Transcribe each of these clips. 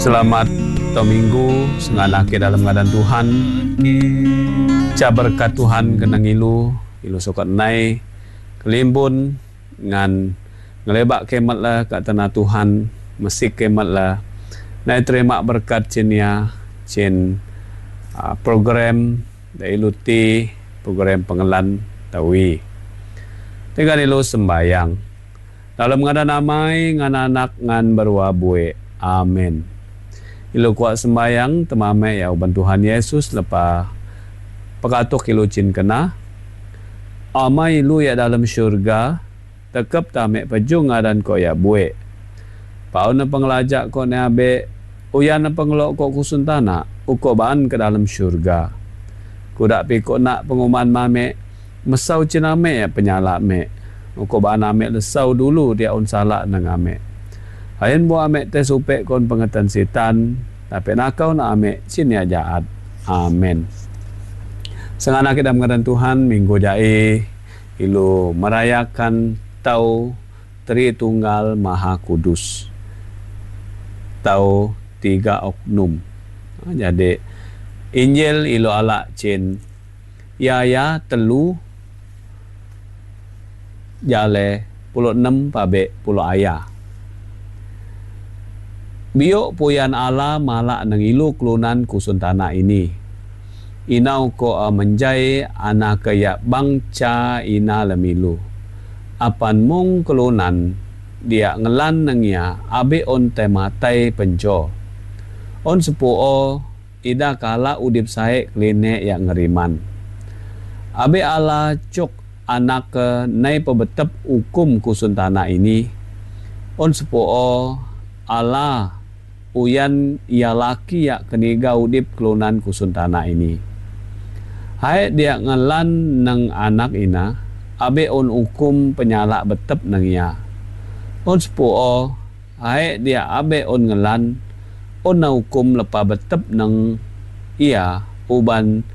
Selamat Taun Minggu sengalah ke dalam ngadan Tuhan. Ca berkat Tuhan kena ngilu, ilu sukat nai kelimbun ngan ngelebak kemet la ka tanah Tuhan, mesik kemet la nai terima berkat cin ia cin program da ilu ti program pengelan tawi. Tegal ilu sembayang. Dalam ngadan amai ngan anak ngan berua buek. Amen. Ilu kuak sembayang temame ya uban Tuhan Yesus lepa pekatuk ilu cin kena. Amai ilu ya dalam syurga tekep tame pejung ngadan ko ya buek. Pau ne pengelajak ko ne abe uyan ne pengelok ko kusun tanah uko baan ke dalam syurga. Kudak pikok nak penguman mame mesau ciname ya penyalak me. Uko baan ame lesau dulu dia on salak nang ame. Ayen bu ame te supek kon pengetan setan tapi nakau na ame cin ya jaat. Amin. Sengana kita mengadan Tuhan minggu jai ilu merayakan tau Tritunggal Maha Kudus. Tau tiga oknum. Jadi Injil ilu ala cin ya ya telu jale pulo enam pabe pulo ayah. Biok puyan ala malak nang ilu kelunan kusun tanah ini. Inau ko a menjai anak ya bangca ina lemilu. Apan mung kelunan dia ngelan nang ya abe on tematai penjo. On sepuo ida kala udip sae kline ya ngeriman. Abe ala cuk anak ke nai pebetep hukum kusun tanah ini. On sepuo ala uyan ia laki ya keniga udip kelunan kusun tanah ini. Hai dia ngelan nang anak ina abe on hukum penyalak betep nang ia. On sepuo hai dia abe on ngelan on na hukum lepa betep nang ia uban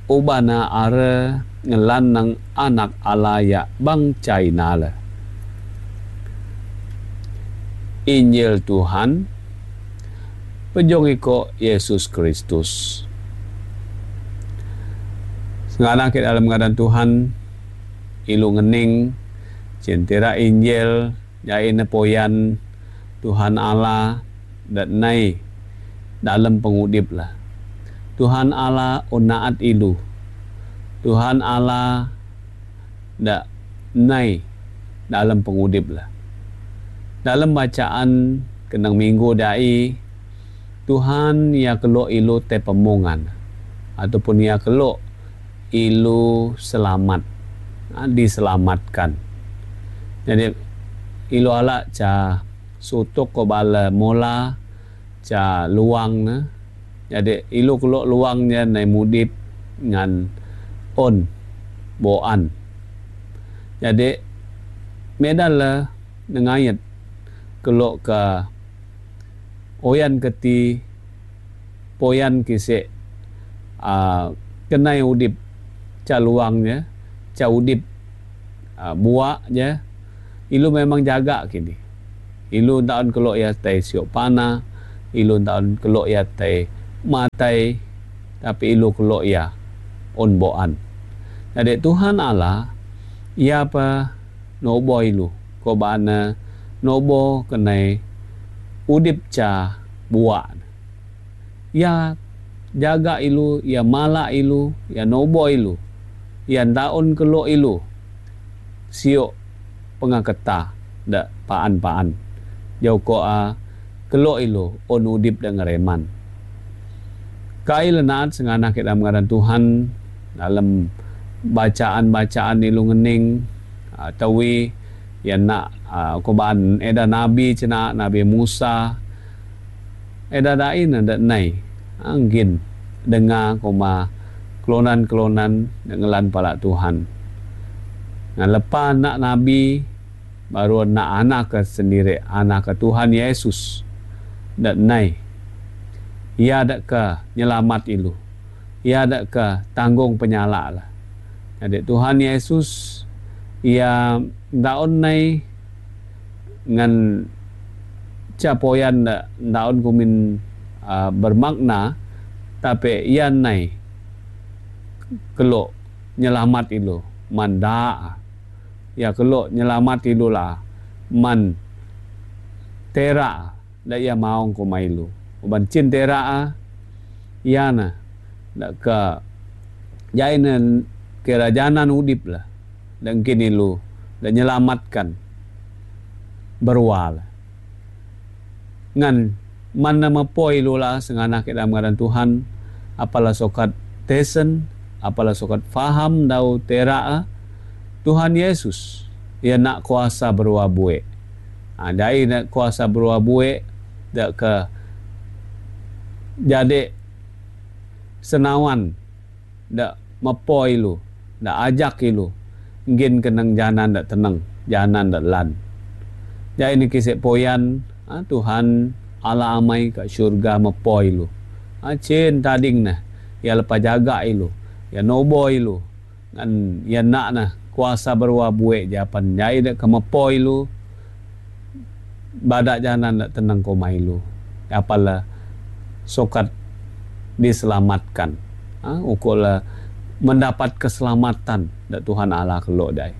ubana are ngelan nang anak ala ya bang China le. Injil Tuhan pejong iko Yesus Kristus. Sengalang kita dalam keadaan Tuhan ilu ngening cintira Injil jain poyan Tuhan Allah dan nai dalam pengudip lah. Tuhan Allah onaat ilu. Tuhan Allah dak nai dalam pengudip lah. Dalam bacaan kenang minggu dai Tuhan ya kelok ilu te pemungan ataupun ya kelok ilu selamat, diselamatkan. Jadi ilu ala ca sutuk ko bala mola ca luang ne. Jadi ilu kelok luangnya nai mudip ngan on boan. Jadi medal la nengayet kelok ke oyan keti poyan kisek kenai udip ca luangnya ca udip buak je ilu memang jaga kini. Ilu taun kelok ya tai siok panah, ilu taun kelok ya tai matai, tapi ilu kelok ya on boan. Jadi Tuhan Allah ia apa nobo ilu ko bana nobo kenai udip ca buak. Ya jaga ilu, ya mala ilu, ya nobo ilu, ya daun kelok ilu. Siok pengaketa dak paan-paan. Jauh ko a kelok ilu on udip dan ngereman. Kai lenaat senganah kita mengaran Tuhan dalam bacaan-bacaan ilu ngening tawi ya nak koban eda nabi cina Nabi Musa eda dain ada nai anggin dengar koma kelonan-kelonan ngelan pala Tuhan. Nah, lepas nak nabi baru nak anak ke sendiri anak ke Tuhan Yesus dan nai ia dak ke nyelamat ilu, ia dak ke tanggung penyalak lah. Jadi Tuhan Yesus ia daun nai ngan capoyan daun kumin Bermakna tapi iya nai kelo nyelamat ilu man daa. Iya kelo nyelamat ilu laa man tera da iya maong kuma ilu. Uban chin tera iya na da ke jai ne kerajanan udip la da ngkin ilu da nyelamatkan berua la. Ngan man na mepoi ilu la senganah ke dalam ngaran Tuhan apalah sokat tesen apalah sokat faham dau tera Tuhan Yesus ia nak kuasa berua buek. Ha, dai nak kuasa berua buek dak ke jadi senawan dak mepoi ilu dak ajak ilu ngin kenang janan dak tenang janan dak lan. Jadi ni kisah poyan ha, Tuhan Allah amai kat syurga mepoi ilu. Ha, cin tading nah ya lepa jaga ilu ya nobo ilu ngan ya nak nah kuasa berua buek japan jai dak ke mepoi ilu badak janan dak tenang koma ilu. Apalah sokat diselamatkan. Ha, ukurlah mendapat keselamatan dak Tuhan Allah kelok dai.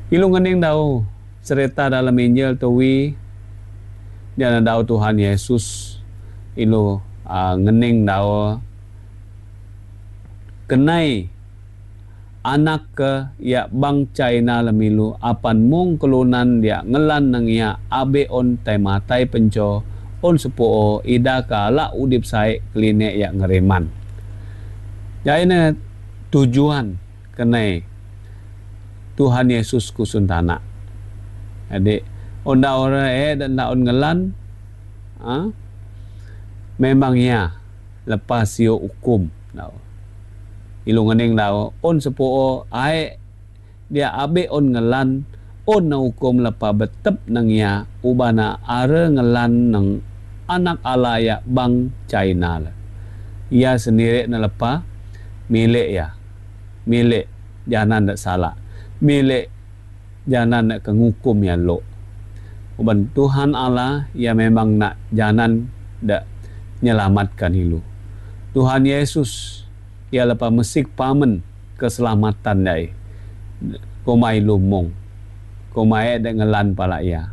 Ilu ngening dau cerita dalam Injil tuwi dia dau Tuhan Yesus ilu ngening dau kenai anak ke ya bang China lemilu apan mung kelunan dia ngelan nang ya abe on tai matai penco on sepuo ida ka la udip sai klinik ya ngereman. Jadi tujuan kenai Tuhan Yesus kusuntana. Jadi onda ora dan on ngelan ha? Memang ya lepas sio hukum tau. Ilu ngening tau on sepuo ae dia abe on ngelan on na hukum lepa betep nang ya ubana are ngelan nang anak ala ya bang China lah. Ia sendiri na lepa milik ya. Milik jangan nak salah. Milik jangan nak kengukum ya lo. Uban Tuhan Allah ya memang nak jangan dak nyelamatkan ilu. Tuhan Yesus ia lepa mesik pamen keselamatan dai. Komai lumong. Komai dak ngelan pala ia.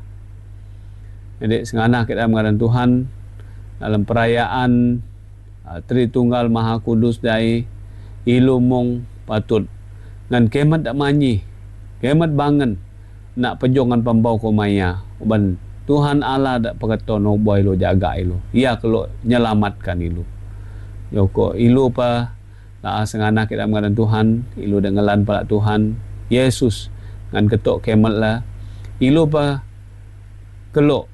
Jadi senganah kita mengadan Tuhan dalam perayaan Tritunggal Maha Kudus dai ilu mong patut ngan kemat dak manyi. Kemat bangen nak pejongan pembau komaya. Uban Tuhan Allah dak peketo no boy lo jaga ilu. Ia kalau nyelamatkan ilu. Yoko ilu pa la senganah kita mengadan Tuhan, ilu dengelan pala Tuhan Yesus ngan ketok kemat lah. Ilu pa kelok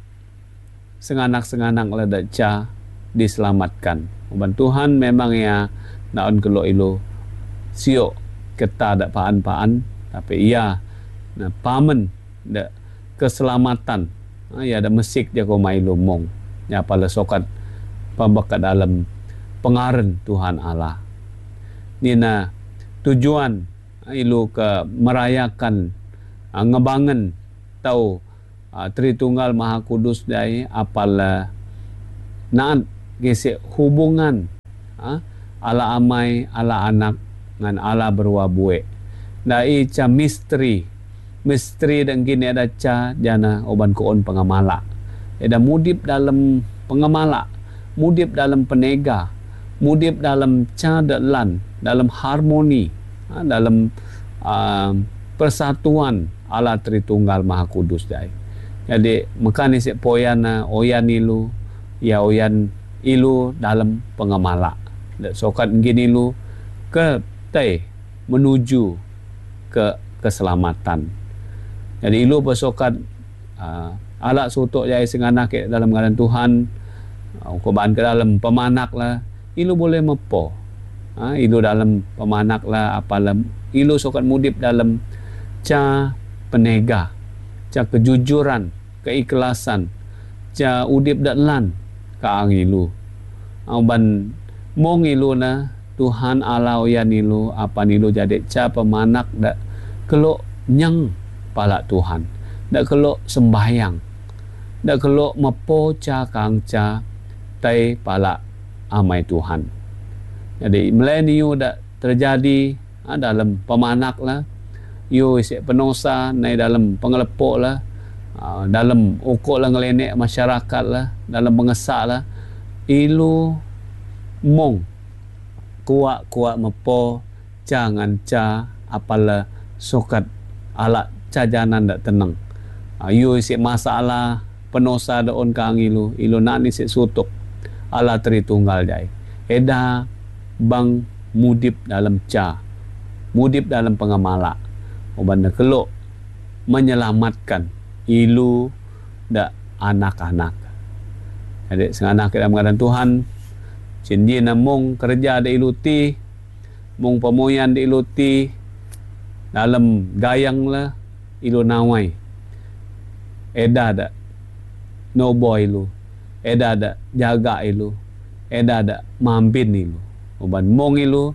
senganak-senganak lah dak ca diselamatkan. Uban Tuhan memang ya naon kelok ilu siok keta dak paan-paan tapi ia na pamen dak keselamatan. Ha, ya ada mesik dia ko mai lumong. Ya pala sokat pambakat dalam pengaren Tuhan Allah. Nina tujuan ilu ke merayakan ngebangen tau Tritunggal Maha Kudus dai apala naat gesek hubungan ala amai ala anak ngan ala berua buek. Dai ca misteri misteri dan gini ada ca jana oban koon pengamala. Ada mudip dalam pengamala, mudip dalam penega, mudip dalam ca delan, dalam harmoni, dalam persatuan ala Tritunggal Maha Kudus dai. Jadi mekan isik poyana oyan ilu, ya oyan ilu dalam pengamala. Sokat gini ilu ke tai menuju ke keselamatan. Jadi ilu bersokat alat sutuk jai senganah ke dalam ngaran Tuhan, korban ke dalam pemanak lah, ilu boleh mepo. Ilu dalam pemanak lah apalah ilu sokat mudip dalam ca penega, ca kejujuran, keikhlasan, ca udip daklan ka ang ilu. Ban mong ilu na Tuhan Allah oyan ilu apa ilu jadi ca pemanak dak kelok nyang pala Tuhan, dak kelok sembahyang, dak kelok mepo ca kang ca Tai pala amai Tuhan. Jadi mileniu dak terjadi ha, dalam pemanak lah. Yu isi penosa nai dalam pengelepok lah. Ha, dalam ukok lah ngelenek masyarakat lah. Dalam pengesak lah. Ilu mong kuak-kuak mepo jangan ca apala sokat ala cajanan dak tenang. Ha, yu isi masalah penosa daon kang ilu ilu nani si sutuk ala Tritunggal jai. Eda bang mudip dalam ca, mudip dalam pengamala. Oban keluk menyelamatkan ilu dak anak-anak. Jadi senganak kita mengadan Tuhan, cinji namung kerja da ilu ti, mung pemoyan da ilu ti, dalam gayang lah ilu nawai. Eda dak nobo ilu, eda dak jaga ilu, eda dak mampin ilu. Oban mong ilu,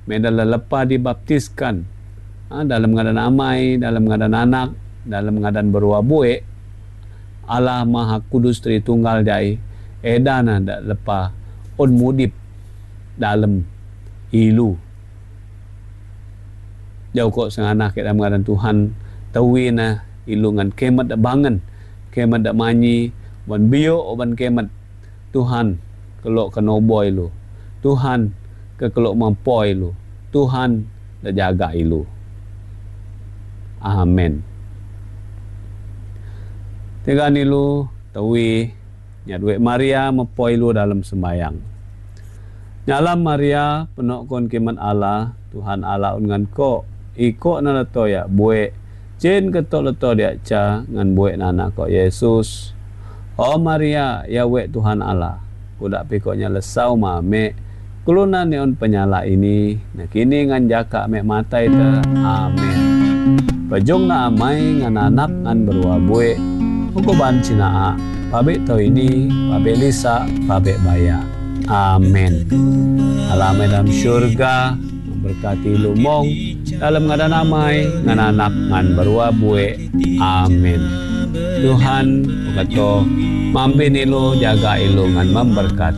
meda lelepa dibaptiskan ha, dalam ngadan amai, dalam ngadan anak, dalam ngadan berua buek, Allah Maha Kudus Tritunggal jai, eda na dak lepa on mudip dalam ilu. Jauh kok senganak dalam ngadan Tuhan, tawina ilu ngan kemat dak bangan, kemat dak manyi, wan bio oban kemat Tuhan kelok kenobo ilu. Tuhan ke kelok mampo ilu. Tuhan dak jaga ilu. Amin. Tiga nilu tawi nyadwe Maria mepo ilu dalam sembayang. Nyalam Maria penuh kon kiman Allah, Tuhan Allah ungan ko iko na leto ya buek Jin ketok leto dia ca ngan buek nana ko Yesus. Oh Maria, ya wek Tuhan Allah. Kudak pikoknya lesau mame. Kuluna neon penyala ini. Nah kini ngan jaka mek matai te. Amin. Pejung na amai ngan anak ngan berua buek. Hukuban cinaa. Pabek tau ini, pabek lisa, pabek baya. Amin. Allah dalam syurga memberkati lumong dalam ngadan amai ngan anak ngan berua buek. Amin. Tuhan berkata, mampin ilu jaga ilu ngan memberkati.